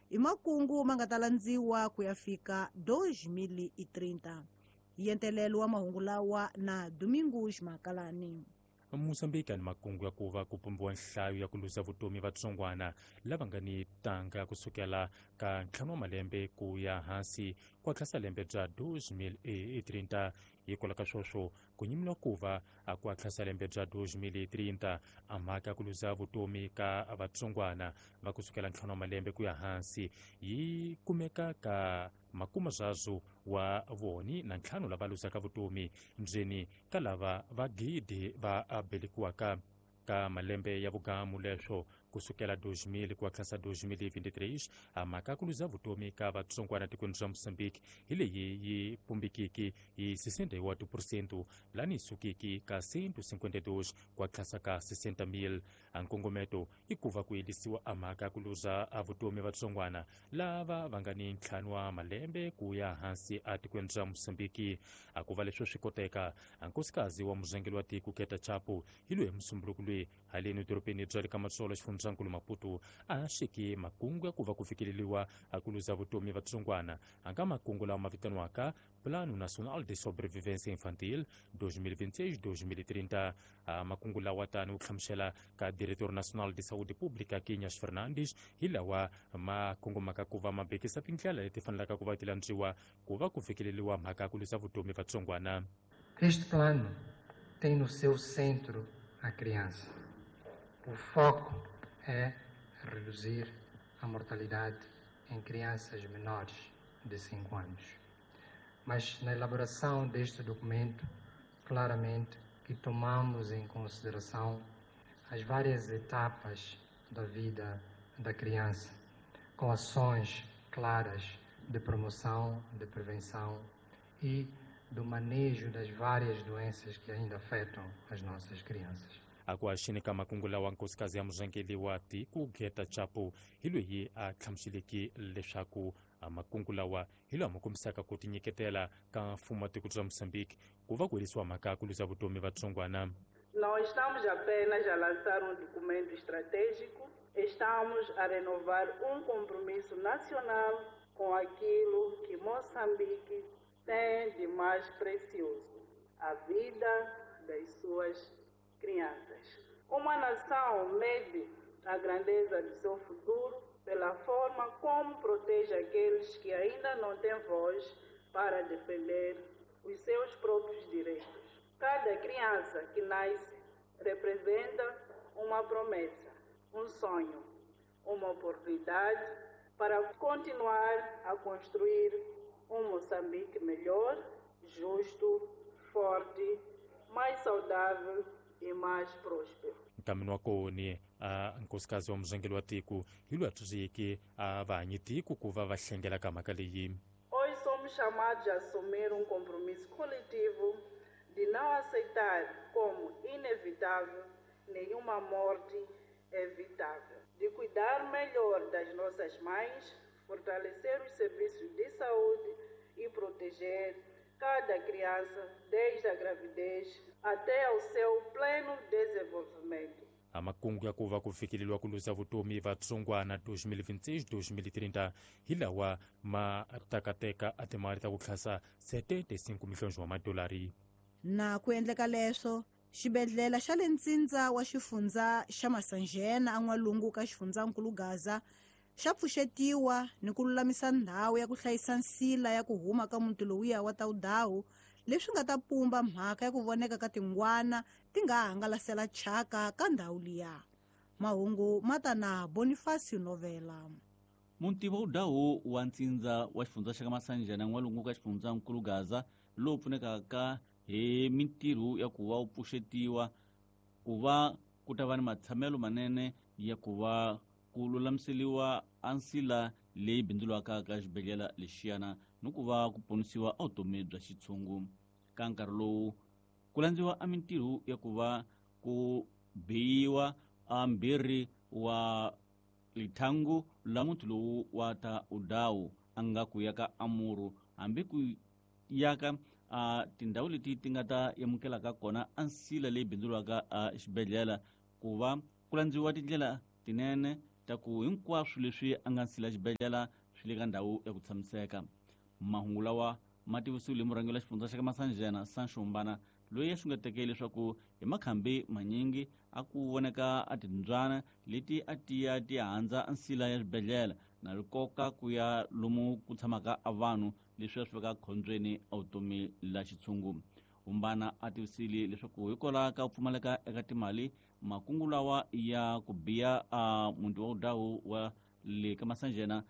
I makungu ma nga ta landziwa ku ya fika 2030. Yentelelo wa mahungu lawa na Domingos Makalani. Mozambique ni makungu ya ku va ku pumbiwa nhlayo ya ku luza vutomi vatsongwana lava nga ni tanga kusukela ka 5 wa malembe ku ya hansi ku hatlisa lembe bya 2030. Hikwalaho ka sweswo ku nyimiwa ku va ku hatlisa lembe bya 2030 a mhaka ya ku luza vutomi ka vatsongwana va kusukela 5 wa malembe ku ya hansi yi kumeka ka makuma zwazo wa voni na 5 lava luzaka vutomi ndzeni ka lava va gidi va belekiwaka ka malembe ya vugamu leswo kusukela 2000 ku hatlisa 2023. A mhaka ku luza vutomi ka vatsongwana tikweni ra Mozambique hi leyi yi pumbikiki hi 61% lani yi sukiki ka 152 ku hatlisa ka 60,000. A nkongometo i ku va ku yelisiwa a mhaka ku luza a vutomi vatsongwana lava va nga ni 5 wa malembe ku ya hansi a tikweni ra Mozambique. A ku va leswo swi koteka a nkosikazi wa muzangeli wa tiko Keta Chapo hi loyi musumbunuko loyi haleni dorobeni bya le ka Matsolo xifundzankulu Maputo a xiki makungu ya ku va ku fikeleriwa a ku luza vutomi vatsongwana a nga makungu lawa ma vitaniwaka Plano Nacional de Sobrevivência Infantil 2026-2030. A makungu lawa tani wu hlamusela ka Diretor Nacional de Saúde Pública Quinhas Fernandes hi lawa ma kongomaka ku va ma bekisa tindlela leti fanelaka ku va ti landziwa ku va ku fikeleriwa mhaka ya ku luza vutomi vatsongwana. Este plano tem no seu centro a criança. O foco é reduzir a mortalidade em crianças menores de 5 anos. Mas na elaboração deste documento, claramente que tomamos em consideração as várias etapas da vida da criança, com ações claras de promoção, de prevenção e do manejo das várias doenças que ainda afetam as nossas crianças. Akuaxini ka makungu lawa nkosikazi ya muzangeli wa tiko Geta Chapo hi loyi a hlamuseleke leswaku makungu lawa hi lawa ma kombisaka ku tinyiketela ka mfumo wa tiko bya Mozambique ku va ku herisiwa mhaka ku luza vutomi vatsongwana. Não estamos apenas a lançar um documento estratégico, estamos a renovar um compromisso nacional com aquilo que Moçambique tem de mais precioso, a vida das suas crianças. Uma nação mede a grandeza do seu futuro pela forma como protege aqueles que ainda não têm voz para defender os seus próprios direitos. Cada criança que nasce representa uma promessa, um sonho, uma oportunidade para continuar a construir um Moçambique melhor, justo, forte, mais saudável e mais próspero. Nkamini wa koni a nkosikazi wa muzangeli wa tiko hi loyi a tsundzuxeke a vahanyi tiko ku va va hlengela ka mhaka leyi. Hoje somos chamados a assumir um compromisso coletivo de não aceitar como inevitável nenhuma morte evitável, de cuidar melhor das nossas mães, fortalecer os serviços de saúde e proteger cada criança desde a gravidez até ao seu pleno desenvolvimento. A makungu ya ku va ku fikeleriwa ku luza vutomi vatsongwana 2026-2030 hi lawa ma takateka a timali ta ku tlhasa 75 milhonji wa madolari. Na ku endleka leswo xibedhlele xa le ntsindza wa xifundza xa Masanjena an'walungu ka xifundzankulu Gaza xa pfuxetiwa ni ku lulamisa ndhawu ya ku hlayisa nsila ya ku huma ka muti lowuya wa Taudawu, leswi nga ta pumba mhaka ya ku voneka ka tingwana ti nga hangalasela chaka ka ndhawu liya. Mahungu ma ta na Bonifacio Novela. Muti wa Udawu wa ntsindza wa xifundza xa ka Masanjena n'walungu ka xifundzankulu Gaza lowu pfunekaka hi mintirho ya ku va wu pfuxetiwa ku va ku ta va ni matshamelo manene ya ku va ku lulamiseliwa a nsila leyi bindzuriwaka ka xibedhlele lexiyana ni ku va ku ponisiwa a vutomi bya xitshungu. Ka nkarhi lowu ku landziwa a mintirho ya ku va ku biyiwa a mbirhi wa lithangu la muti lowu wa ta Udawu a nga ku ya ka Amuru hambi ku yaka a tindhawu leti ti nga ta amukelaka kona a nsila leyi bindzuriwaka a xibedhlele ku va ku landziwa tindlela tinene ta ku hinkwaswo leswi a nga nsila xibedhlele swi le ka ndhawu ya ku tshamiseka. Mahungu lawa ma tivisiwile hi murhangeri wa xifundza xa ka Masanjena Sancho Mbana, loyi a xungeteke leswaku hi makhambi manyingi a ku voneka a timbyana leti a tiya ti handza nsila ya xibedhlele na rikoka ku ya lomu ku tshamaka a vanhu, leswi a swi veka khombyeni a vutomi la xitshungu. Umbana a tivisile leswaku hikwalaho ka ku pfumaleka eka timali, makungu lawa ya ku biya a muti wa Udawu wa le ka Masanjena,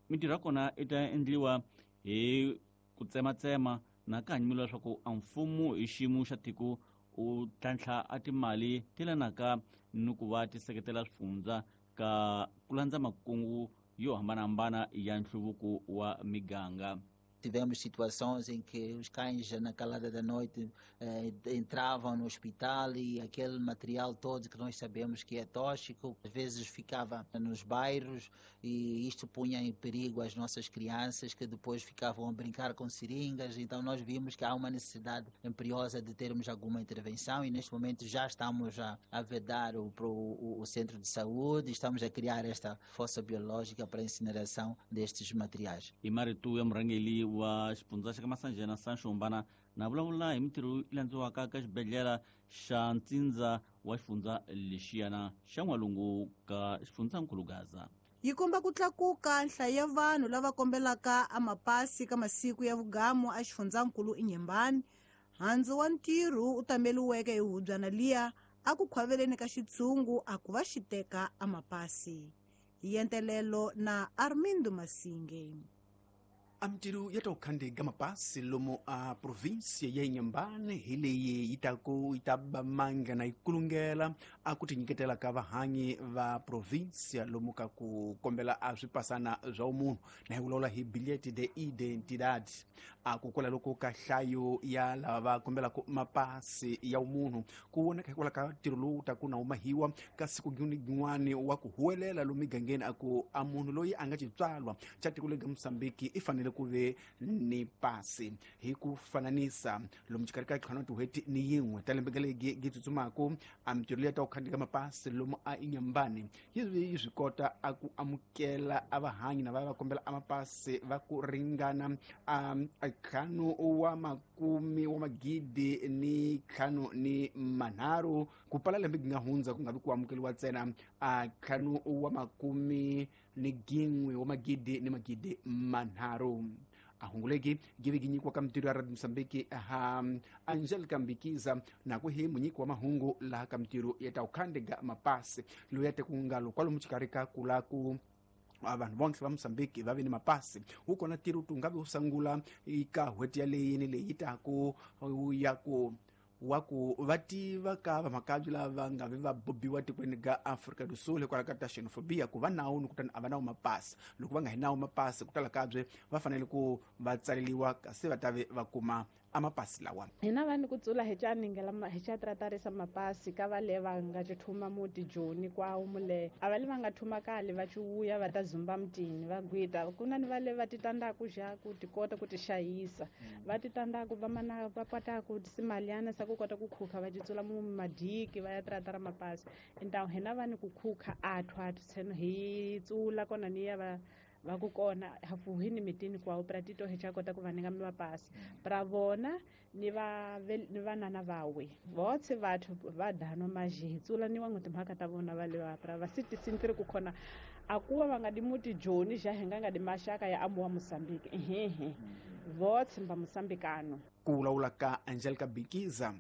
mintirho ya kona i ta endliwa hi ku tsematsema na ka hanyimelo leswaku a mfumo hi xiyimo xa tiko u tlhantlha a timali ti lanaka ni ku va ti seketela swifundza ka ku landza makungu yo hambanahambana ya nhluvuko wa miganga. Tivemos situações em que os cães, na calada da noite, entravam no hospital e aquele material todo que nós sabemos que é tóxico, às vezes ficava nos bairros e isto punha em perigo as nossas crianças que depois ficavam a brincar com seringas. Então nós vimos que há uma necessidade imperiosa de termos alguma intervenção e neste momento já estamos a vedar o centro de saúde, estamos a criar esta fossa biológica para a incineração destes materiais. E Maritu Mrangeli wa xifundza xa ka Masanjena Sancho Mbana na vulavula hi mintirho yi landziwaka ka xibedhlele xa ntsindza wa xifundza lexiyana xa n'walungu ka xifundzankulu Gaza. Yi komba ku tlakuka nhlayo ya vanhu lava kombelaka amapasi ka masiku ya vugamu a xifundzankulu Inhambane. Handzu wa ntirho u tameliweke hi hubyana liya a ku khwaveleni ka xitshungu a ku va xi teka amapasi. Yentelelo na Armindo Masinge. A mintirho ya ta ku khandiga mapasi lomu a província ya Inhambane hi leyi yi ta ku yi ta ba manga na yi kulungela a ku tinyiketela ka vahanyi va província lomu ka ku kombela a swipasana swa umunhu na hi vulavula hi bilhete de identidade. A ku kwala loko ka nhlayo ya lava va kombelaka mapasi ya umunhu ku voneka hikwalaho ka ntirho lowu ta ku na humahiwa ka siku rin'wani wa ku huwelela lomu migangeni a ku a munhu loyi a nga xitswalwa xa tiko leri nga Mosambiki i fanele ku ve ni pasi. Hi ku fananisa lomu xikarhi ka ntlhanu tin'hweti ni yin'we ta lembe legi gi tsutsumaku, a mintirho leyi ta ku khandziya mapasi lomu a Inhambane yi swi kota a ku amukela a vahanyi na va va kombela a mapasi va ku ringana a ntlhanu wa makume wa magidi ni ntlhanu ni manharhu ku pala lembe gi nga hundza ku nga vi ku amukeriwa ntsena a ntlhanu wa makume ni gin'we wa magidi ni magidi manharhu. A hunguleki give gi nyikiwa ka mintirho ya Radio Mosambiki ha Angelica Mbikiza na ku hi munyiki wa mahungu laha ka mintirho ya ta ku khandiga mapasi loyi ya te ku ngalo kwalomu xikarhi ka ku la ku vanhu vonke va Mosambiki va ve ni mapasi wu kona ntirho tu nga vi wu sungula eka n'hweti yaleyi ni leyi taku ya ku wa ku va tiva ka vamakabye lava nga vi va bobiwa tikweni ga Afrika do Sul hikwalaho ka ta xenophobia ku va nawu ni kutani a va nawu mapasi. Loko va nga hi nawu mapasi ku tala kabye va fanele ku va tsaleliwa kasi va ta ve va kuma a mapasi lawa. Hina vanhu ku tsula hi xa ningela hi xa tratarisa mapasi ka va le va nga thuma muti Joni kwawo mule a va le va nga thuma kale va ciwuya va ta zumba mutini va gwita ku na ni va le va titandaku xa ku ti kota ku ti xayisa va titandaku va mana va pataku simaliana sa ku kota ku khukha va titsula mu madiki va ya tratara mapasi entawu hina vanhu ku khukha athu athu tsheno hi tsula kona ni ya va ku kona hafuhi ni mitini kwawo pra tito hi xa kota ku va ninga mapasi pra vona ni va ni vanana vawe votse vathu va dano maji hi tsula ni wangu timhaka ta vona va le va pra va siti ku khona a kuva va nga di muti Joni xa hi nga nga di maxaka ya amuwa Mosambiki ehehe votse mba Mosambikano. Ku vulavula ka Angelica Bikiza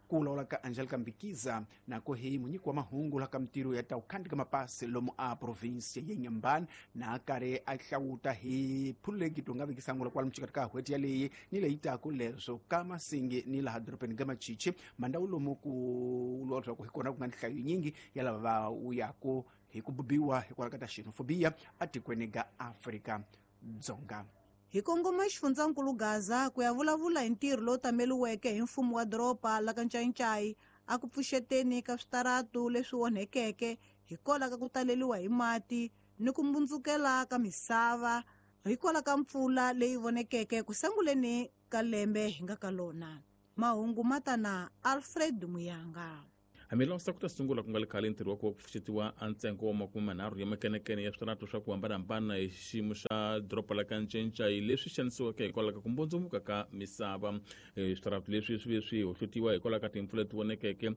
ku vulavula ka Angelica Mbikiza na ku hi munyiki wa mahungu la ka mintirho ya ta ku khandzika mapasi lomu a província ya Inhambane na karhi a hlawuta hi phululeki to nga vekisangula kwalomu xikarhi ka n'hweti yaleyi ni leyi taku leswo ka Masingi ni laha dorobeni ga Machichi mandhawu lomu ku vuriwa leswaku hi kona ku nga nhlayo yinyingi ya lava va wuyaku hi ku bubiwa hikwalaho ka ta xenophobia atikweni ga Afrika Dzonga. Hi kongoma xifundzankulu Gaza ku ya vulavula hi ntirho lowu tameliweke hi mfumo wa doroba la ka Ncayincai a ku pfuxeteni ka switaratu leswi onhekeke hikwalaho ka ku taleliwa hi mati ni ku mbundzukela ka misava hikwalaho ka mpfula leyi vonekeke ku sunguleni ka lembe hi nga ka lona. Mahungu ma ta na Alfred Muyanga. Hamilosa ku ta sungula ku nga le khale ntirho wa ku va ku pfuxetiwa a ntsengo wa 30 ya makenekene ya switarata swa ku hambanahambana hi xiyimo xa doroba la ka Ncencai leswi xanisiweke hikwalaho ka ku mbundzumuka ka misava. Switarata leswi swi ve swi hohlotiwa hikwalaho ka timpfula leti vonekeke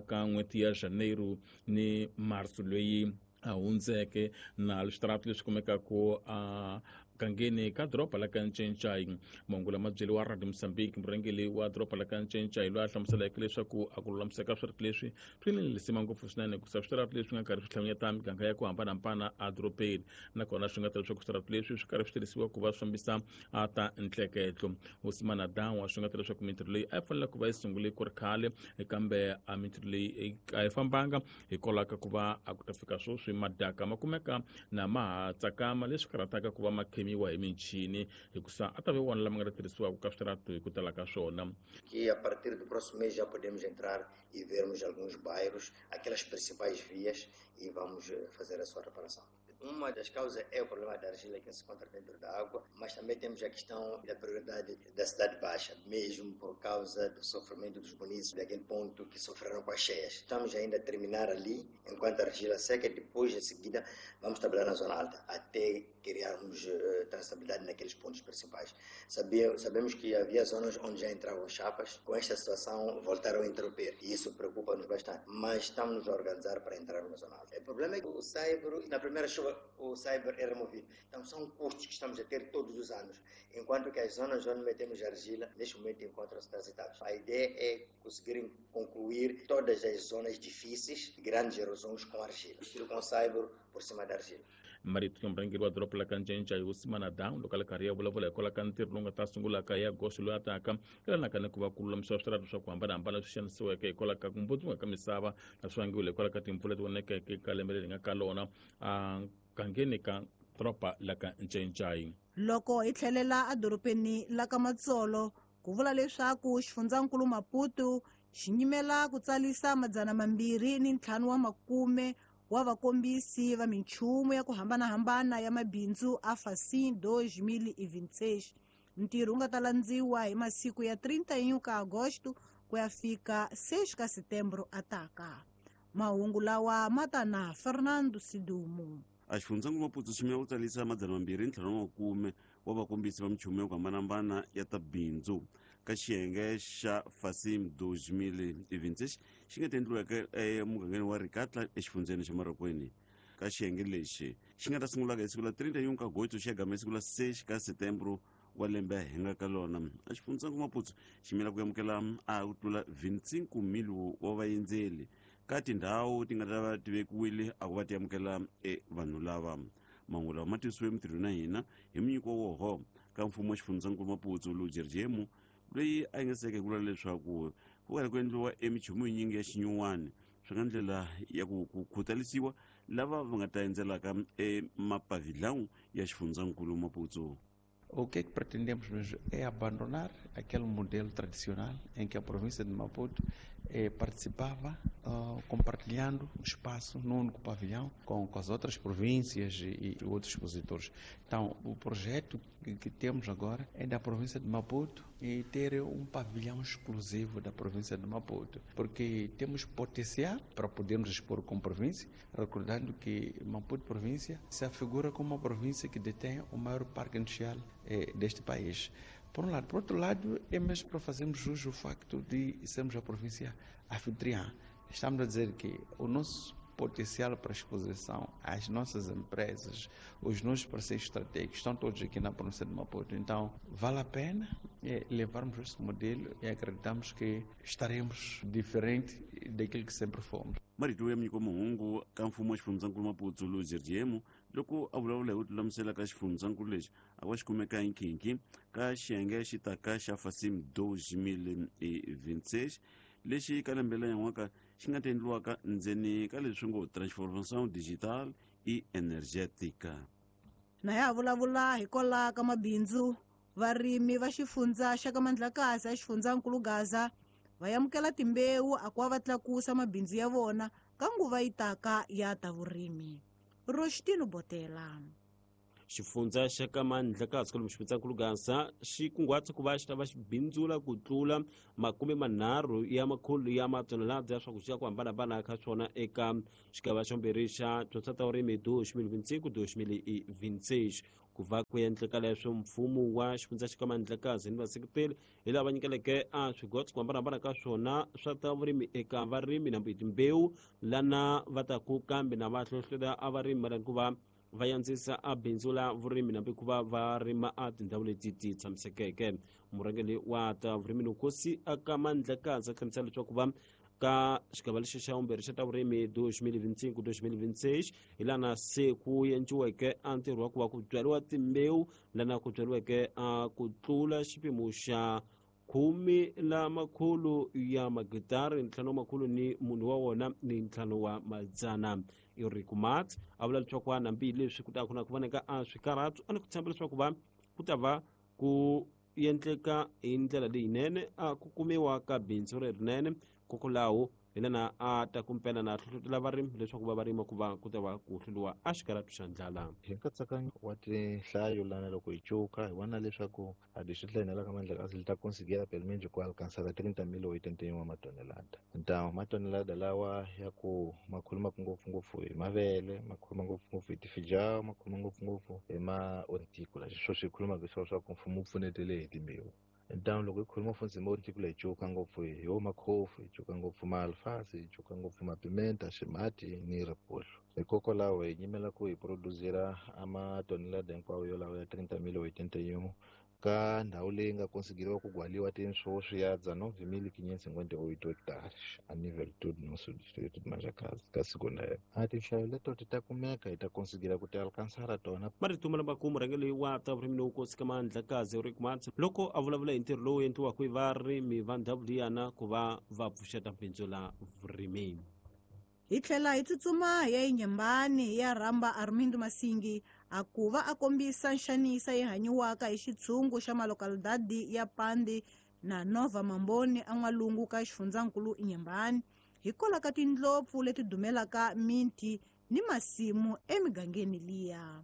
ka n'hweti ya Janeiro ni Marso loyi a hundzeke, na switarata leswi kumekaka a gangeni ka doroba la ka Ncencai. Mahungu lama byeriwa Radio Mozambique murhangeri wa doroba la ka Ncencai loyi a hlamuseleke leswaku a ku lulamiseka switarata leswi swi ni lisima ngopfu swinene hikusa switarata leswi nga karhi swi hlanganyeta miganga ya ku hambanahambana edorobeni, nakona swi nga ta leswaku switarata leswi swi karhi swi tirhisiwa ku va swi fambisa a ta ntleketlo. Hosimana Dawa swi nga ta leswaku mintirho leyi a yi fanele ku va yi sungule ku ri khale, kambe a mintirho leyi a yi fambanga hikwalaho ka ku va a ku ta fika sweswi madaka ma kumeka na ma ha tsakama, leswi karhataka ku va ma khemiwa hi michini hikusa a ta ve wona lama nga ta tirhisiwaka ka switarata hi ku tala ka swona. Que a partir do próximo mês já podemos entrar e vermos alguns bairros, aquelas principais vias, e vamos fazer a sua reparação. Uma das causas é o problema da argila que se encontra dentro da água, mas também temos a questão da prioridade da Cidade Baixa, mesmo por causa do sofrimento dos munícipes daquele ponto que sofreram com as cheias. Estamos ainda a terminar ali, enquanto a argila seca, depois, em seguida, vamos trabalhar na zona alta, até criarmos transitabilidade naqueles pontos principais. Sabemos que havia zonas onde já entravam chapas, com esta situação voltaram a interromper, e isso preocupa-nos bastante, mas estamos a organizar para entrar na zona alta. O problema é que o saibro, na primeira chuva, o saibro é removido. Então são custos que estamos a ter todos os anos, enquanto que as zonas onde metemos argila, neste momento encontram-se transitadas. A ideia é conseguir concluir todas as zonas difíceis, grandes erosões com argila, estilo com saibro por cima da argila. Marito murhangeri wa doroba la ka Ncencai Hosimana Dawa loko a le karhi ya vulavula hikwalaho ka ntirho lowu nga ta sungulaka hi agosto loyi a taka yelanaka ni ku va ku lulamisiwa switarata swa ku hambanahambana leswi xanisiweke hikwalaho ka ku mbundzumuka ka misava na swi vangiwile hikwalaho ka timpfula leti vonekeke ka lembe leri nga ka lona a gangeni ka doroba la ka Ncencai. Loko hi tlhelela edorobeni la ka Matsolo, ku vula leswaku xifundzankulu Maputo xi nyimela ku tsalisa 250 wa vakombisi va minchumu ya ku hambanahambana ya mabindzu a Facim 2026. Ntirho wu nga ta landziwa hi masiku ya 31 ka Agosto ku ya fika 6 ka Setembro ataka. Mahungu lawa ma ta na Fernando Sidumo. A xifundzankulu Maputo xi yimela ku tsalisa 250 wa vakombisi va minchumu ya ku hambanahambana ya ta bindzu ka xiyenge xa Facim 2026 xi nga ta endliweke emugangeni wa Ricatla exifundzeni xa Marokweni. Ka xiyenge lexi xi nga ta sungulaka hi siku la 31 ka Agosto xi ya gama hi siku la 6 ka Setembro wa lembe hi nga ka lona. A xifundzankulu Maputo xi yimela ku amukela a ku tlula 25,000 wa vaendzeli ka tindhawu ti nga ta va ti vekiwile a ku va ti amukela vanhu lava. Mahungu lawa ma tisiwe mintirhweni na hina hi munyiko woho ka mfumo wa xifundzankulu Maputo Lujerjemu, loyi a yingiseke ku vula leswaku ku karhi ku endliwa emichumu yinyingi ya xinyuwani swi nga ndlela ya ku khutalisiwa lava va nga ta endzelaka emapavilhão ya xifundzankulu Maputo. O que é que pretendemos mesmo é abandonar aquele modelo tradicional em que a província de Maputo participava compartilhando o espaço num único pavilhão com as outras províncias e outros expositores. Então, o projeto que temos agora é da província de Maputo e ter um pavilhão exclusivo da província de Maputo, porque temos potencial para podermos expor como província, recordando que Maputo província se afigura como uma província que detém o maior parque industrial deste país. Por um lado. Por outro lado, é mesmo para fazermos jus ao facto de sermos a província anfitriã. Estamos a dizer que o nosso potencial para exposição, as nossas empresas, os nossos parceiros estratégicos estão todos aqui na província de Maputo. Então, vale a pena levarmos esse modelo e acreditamos que estaremos diferente daquilo que sempre fomos. Marito ya Mnyiko Muhungu ka mfumo wa xifundzankulu Maputo Lujerjemu loko a vulavula hi ku lulamisela ka xifundzankulu lexi a va xi kumeka hi nkhinkhi ka xiyenge xi taka xa Facim 2026 lexi ka lembe la nyan'waka xi nga ta endliwaka ndzeni ka leswi ngo transformação digital e energética. Na ya vulavula hikwalaho ka mabindzu, varimi va xifundza xa ka Mandlakazi a xifundzankulu Gaza va amukela timbewu a ku va tlakusa mabindzu ya vona ka nguva yi taka ya ta vurimi. Rostino Botela. Xifundza xa ka Mandlakazi kwalomu xifundzankulu Gaza xi kunguhata ku va xi ta va xi bindzula ku tlula 30 ya makhulu ya matonelada ya swakudya ku hambanahambana ka swona eka xigava xa vumbirhi xa dyondzo ta vurimi 2025-2026. Ku va ku endleka leswo mfumo wa xifundza xa ka Mandlakazi ni vaseketeri hi lava nyikeleke a swigotso ku hambanahambana ka swona swa ta vurimi eka varimi na timbewu lana va ta ku kambe na va hlohletela a varimi mayelana ku va va yandzisa a bindzu la vurimi nambi ku va va rima a tindhawu leti ti tshamisekeke. Murhangeri wa ta vurimi Nkosi aka Mandlakazi a hlamusela leswaku va ka xigava lexi xa vumbirhi xa ta vurimi 2025-2026 hi lana se ku endliweke a ntirho wa ku va ku byariwa timbewu lana ku byariweke a ku tlula xipimo xa 10 la makhulu ya magitari 5 makhulu ni munhu wa wona ni 5 wa madzana. Eric Mat a vula leswaku a nambi leswi ku ta ku na ku voneka a swikarhatu a ni ku tshemba leswaku va ku ta va ku endleka hi ndlela leyinene a ku kumiwa ka bindzu lerinene kokwalaho hi lana a ta kumpela na hlohlotela varimi leswaku va rima ku va ku ta va ku hluriwa a xikarhatu xa ndlala. Hi nkatsakanyo wa tinhlayo lana loko hi cuka hi vona leswaku a distrito la ka Mandlakazi li ta conseguir pelo menos ku alcançar 30.081 matonelada. Então matonelada lawa ya ku ma khuluma ngopfungopfu hi mavele, ma khuluma ngopfungopfu hi tifijao, ma khuluma ngopfungopfu hi ma horticola. Sweswo swi khulumaka hi swa ku mfumo wu pfunetele hi timbewu. Então loko hi khuluma futhi hi ma horticola hi cuka ngopfu hi wo makhofu, hi cuka ngopfu maalfasi, hi cuka ngopfu mapimenta, ximati ni ripollo. Hikokwalaho hi nyimela ku hi produzira a matonelada hinkwawo yolawo ya 30.081 ka ndhawu leyi nga konsigiriwa ku gwaliwa tinswo ya 19.558 hectares a nível todo nosso distrito de Mandlakazi ka siku lero. A tinhlayo leto ti ta kumeka hi ta konsigira ku ti alcançar tona. Marito lama ku murhangeri wa ta vurimi Nkosi ka Mandlakazi Eric Mat loko a vulavula hi ntirho lowu endliwaka hi varimi va ndhawu liyana ku va va pfuxeta bindzu la vurimi. Hi tlhela hi tsutsuma hi ya eNyembani ya rhamba Armindo Masingi a ku va a kombisa nxanisa yi hanyiwaka hi xitshungu xa malokalidadi ya Pandi na Nova Mamboni an'walungu ka xifundzankulu Nyembani hikwalaho ka tindlopfu leti dumelaka minti ni masimu emigangeni liya.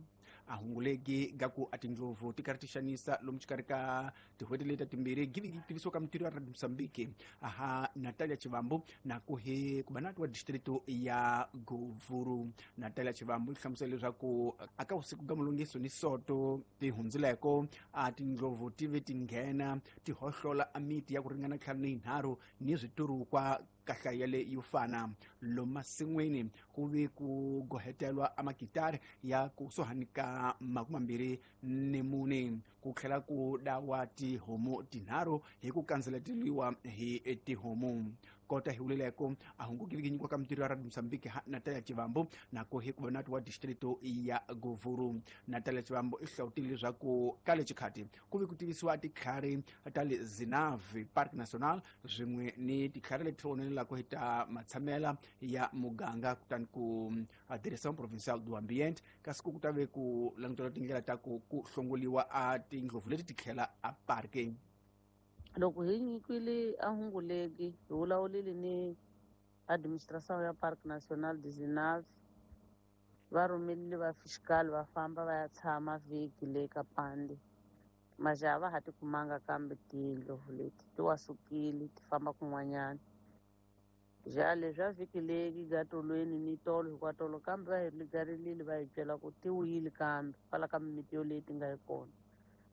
A hunguleki ga ku a tindlovu ti karhi ti xanisa lomu xikarhi ka tin'hweti leti timbirhi giviki tivisiwa ka mintirho ya Radio Mozambique aha Natalia Chivambu na ku hi kubanati wa distrito ya Govuru. Natalia Chivambu yi hlamusela leswaku aka vusiku ga mulungiso ni soto ti hundzileko a tindlovu ti ve ti nghena ti hohlola a miti ya ku ringana 53 ni switurukwa kahlaya le yo fana lomu masin'wini ku ve ku gohetelwa a makitari ya kusuhani ka 24 ku tlhela ku dawa tihomu 3 hi ku kandzeleteriwa hi tihomu. Kota hi vuleleko a hungukile nyikiwa ka mintirho ya Radio Mozambique ha Natalia Chivambu na ku hi kubanati wa distrito ya Govuru. Natalia Chivambu i hlawutile leswaku ka le xikhati ku ve ku tivisiwa titlhari ta le Zinave Park National swin'we ni titlhari leti onelelaka hi ta matshamela ya muganga kutani ku Direção Provincial do Ambiente kasi ku ta ve ku langutela tindlela ta ku hlongoliwa a tindlovu leti ti tlhela a parke. Loko hi nyikiwile a hunguleki hi vulavulile ni administration ya Parc National de Zinave va rhumerile va fiscal va famba va ya tshama vhiki le ka Pandi majaha va ha ti kumanga kambe tindlovu leti ti wa sukile ti famba kun'wanyana. Ja leswi a vhiki leyi gatolweni ni tolo hikwatolo kambe va hi ligarilile va hi byela ku ti wuyile kambe kwala ka mimiti yoleyi ti nga yi kona.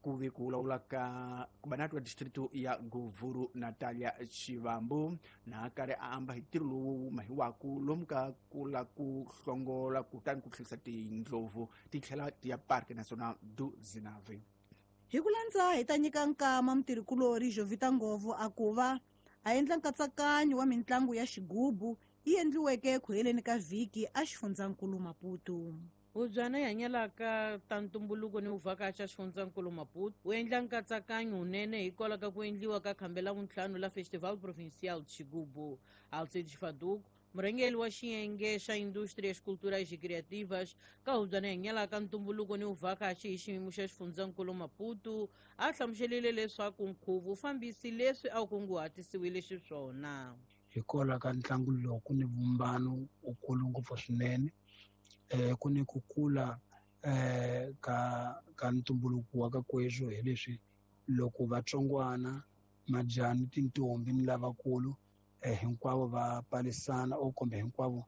Ku ve ku vulavula ka kubanati wa distrito ya Govuru Natalia Chivambu na karhi a amba hi ntirho lowu mahiwaku lomu ka ku la ku hlongola kutani ku tlherisa tindlovu ti tlhela ti ya Parque Nacional do Zinave. Hi ku landza hi ta nyika nkama mutirhikulori Jovita Ngovo a ku va a endla nkatsakanyo wa mintlangu ya xigubu yi endliweke ku heleni ka vhiki a xifundzankulu Maputo. Hubyana yi hanyelaka ta ntumbuluko ni vuvhakachi a xifundzankulu Maputo wu endla nkatsakanyo wunene hikwalaho ka ku endliwa ka khambe la vuntlhanu la Festival Provincial de Xigubu. Alcides Faduco, murhangeri wa xiyenge xa Indústrias Culturais e Criativas ka hubyana yi hanyelaka ntumbuluko ni vuvhakachi hi xiyimo xa xifundzankulu Maputo a hlamuselile leswaku nkhuvo wu fambisi leswi a wu kunguhatisiwile xiswona. Hikwalaho ka ntlangu lowu ku ni vumbano wukulu ngopfu swinene, ku ni ku kula ka ntumbuluko wa ka kweswo hi leswi loko vatsongwana majani tintombi ni lavakulu hinkwavo va palisana o kumbe hinkwavo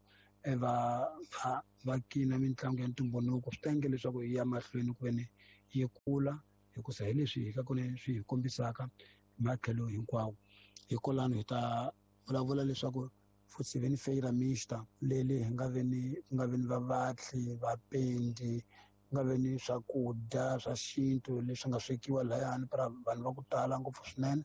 va kina mitlangu ya ntumbuluko swi ta endla leswaku yi ya mahlweni ku veni yi kula hikusa hi leswi hi ka kona swi hi kombisaka matlhelo hinkwawo. Hikwalano hi ta vulavula leswaku futhi ve ni feira mixta leli hi nga ve ni ku nga ve ni vavatli vapendi ku nga ve ni swakudya swa xintu leswi nga swekiwa layani para vanhu va ku tala ngopfu swinene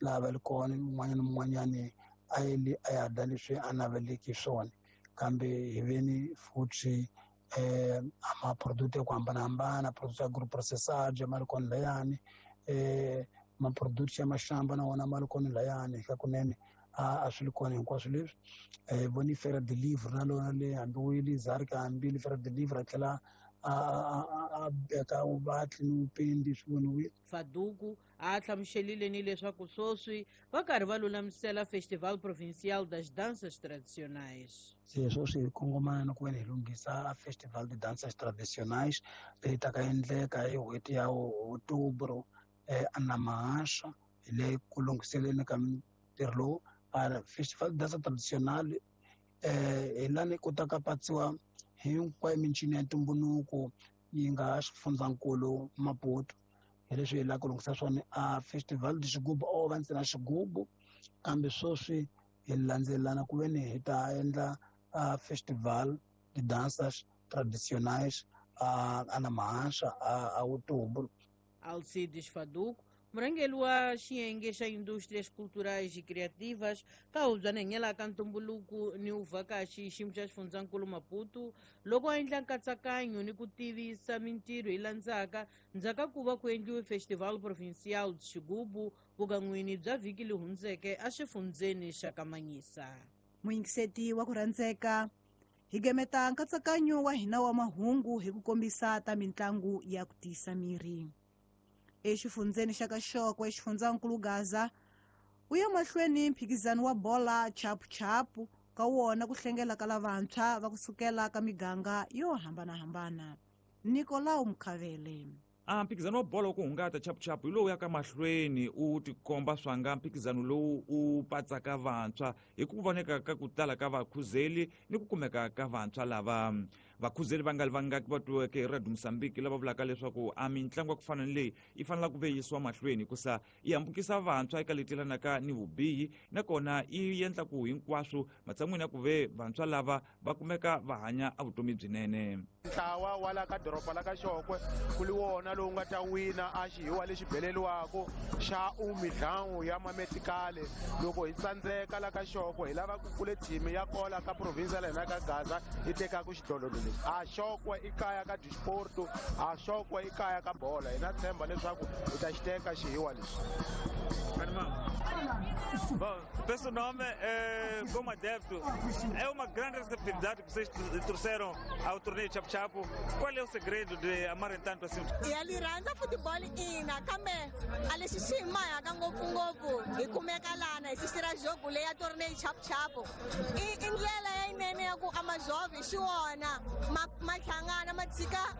laha va li kona un'wanyana na un'wanyani a yeli a ya dya leswi a naveleki swona kambe hi ve ni futhi ma-product ya ku hambanahambana product ya agro processage ma ri kona layani ma-product ya maxamba na wona ma ri kona layani ka kunene a swi ri kona hinkwaswo leswi voni Feira de Livre na lona le hambi wu yile Zarka hambi le Feira de Livre a tlhela a beka vuvatli ni vupendi swi voniwile. Faduku a hlamuselile ni leswaku sweswi va karhi va lulamisela Festival Provincial das Danças Tradicionais. Se sweswi hi kongomana na ku veni hi lunghisa Festival de Danças Tradicionais leyi taka endleka hi n'hweti ya Outubro eNamahasha hi le ku lunghiseleni ka ntirho lowu. Festival de Dança Tradicional hi lani ku ta ka patsiwa hinkwayo mincino ya ntumbuluko yi nga xifundzankulu Maputo hi leswi hi lava ku lunghisa swona. A Festival de Xigubu o va ntsena xigubu kambe sweswi hi landzelelana ku veni hi ta endla Festival de Danças Tradicionais a Namahasha a Outubro. Alcides Faduco, murhangeri wa xiyenge xa indústrias culturais e criativas ka hubyana hanyela ka ntumbuluko ni uvhakachi xiyimo xa xifundzankulu Maputo loko a endla nkatsakanyo ni ku tivisa mintirho yi landzaka ndzhaku ku va ku endliwe Festival Provincial de Xigubu vukan'wini bya vhiki leri hundzeke exifundzeni xa Kamanyisa. Muyingiseti wa ku rhandzeka, hi gemeta nkatsakanyo wa hina wa mahungu hi ku kombisa ta mitlangu ya ku tiyisa miri. Exifundzeni xa Kaxoko exifundzankulu Gaza u ya mahlweni mphikizano wa bola chapuchapu ka wona ku hlengela ka lavantshwa va kusukela ka miganga yo hambanahambana. Nicolau Mkhavele. Mphikizano wa bolo ku hungata chapuchapu hi lowu ya ka mahlweni u tikomba swanga mphikizano lowu u patsaka vantshwa hi ku voneka ka ku tala ka vakhuzeli ni ku kumeka ka vantshwa lava vakhuzeli va nga li vangaki va twiweke hi Radio Mozambique lava vulaka leswaku a mitlangu ya ku fana ni leyi yi fanela ku ve yisiwa mahlweni hikusa yi hambukisa vantshwa eka leti yelanaka ni vubihi nakona yi endla ku hinkwaswo matshan'wini ya ku ve vantshwa lava va kumeka va hanya a vutomi byinene. Ntlawa wa la ka doroba la ka Xokwe ku li wona lowu nga ta wina a xihiwa lexi beleliwako xa umidlangu ya mametikale. Loko hi tsandzeka la ka Xokwe hi lava ku kule thimi ya kola ka province la hina ka Gaza yi tekaka xidlodlo lexi. A Xokwe i kaya ka disporto, a Xokwe i kaya ka bola. Hina tshemba leswaku hi ta xi teka xihiwa lexi. Bom, peço nome, como adepto, é uma grande receptividade que vocês trouxeram ao torneio Chapu Chapu. Qual é o segredo de amarem tanto assim? Ya lirhandza football ina kambe a lexi xi hi mahaka ngopfungopfu hi kumeka lana hi sisira jogo leya torneio Chapu Chapu. I ndlela ya yinene ya ku a majovhi xi wona ma hlangana ma tshika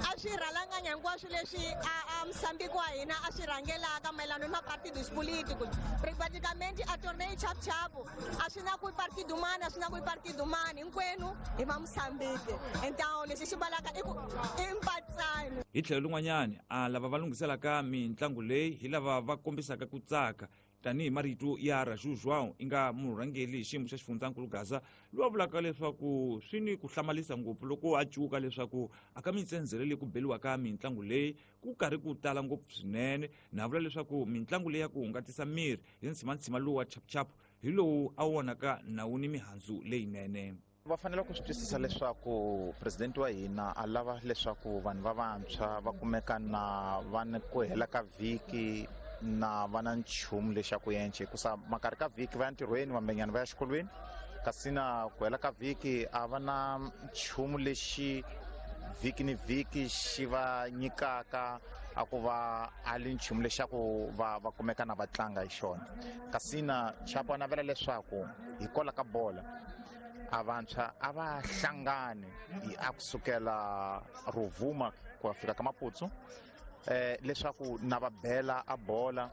a swi rhalanganya hinkwaswo leswi a Mozambique wa hina a swi rhangelaka mayelana ni mapartidos políticos. Praticamente a torneio Chapu Chapu a swi na ku partido mani a swi na ku partido mani hinkwenu hi va Mozambique. Então lexi xi balaka i ku i mpatsano. Hi tlhelo rin'wanyani a lava va lunghiselaka mitlangu leyi hi lava va kombisaka ku tsaka tanihi marito ya Raju João i nga murhangeri hi xiyimo xa xifundzankulu Gaza loyi a vulaka leswaku swi ni ku hlamarisa ngopfu loko a cuka leswaku a ka mitsendzele leyi ku beliwaka mitlangu leyi ku karhi ku tala ngopfu swinene na vula leswaku mitlangu leyi ya ku hungatisa miri hi ntshimantsima lowu wa chapuchapu hi lowu a vonaka nawu ni mihandzu leyinene. Va fanele ku swi twisisa leswaku presidente wa hina a lava leswaku vanhu va vantshwa va kumeka na va ni ku hela ka vhiki na va na nchumu lexaku yenche hikusa makarhi ka vhiki va ya ntirhweni vambenyana va ya xikolweni kasi na ku hela ka vhiki a va na nchumu lexi vhiki ni vhiki xi va nyikaka a ku va a li nchumu lexaku va kumeka na va tlanga hi xona. Kasi na Chapo a navela leswaku hi kola ka bola A vantshwa a va hlangani a kusukela Rovuma ku ya fika ka Maputsu, leswaku na va bela a bola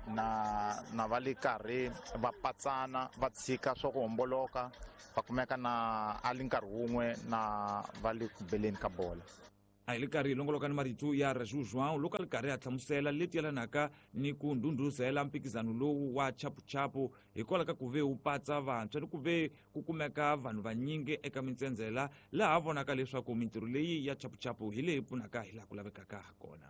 na va le karhi va patsana, va tshika swa ku homboloka, va kumeka na a li nkarhi wun'we na va le ku beleni ka bola. A hi le karhi hi longoloka ni marito ya Raju João loko a ri karhi a hlamusela leti yelanaka ni ku ndhundhuzela mphikizano lowu wa chapuchapu hikwalaho ka ku ve wu patsa vantshwa ni ku ve ku kumeka vanhu vanyingi eka mintsendzela, laha vonaka leswaku mintirho leyi ya chapuchapu hi leyi pfunaka hi laha ku lavekaka ha kona.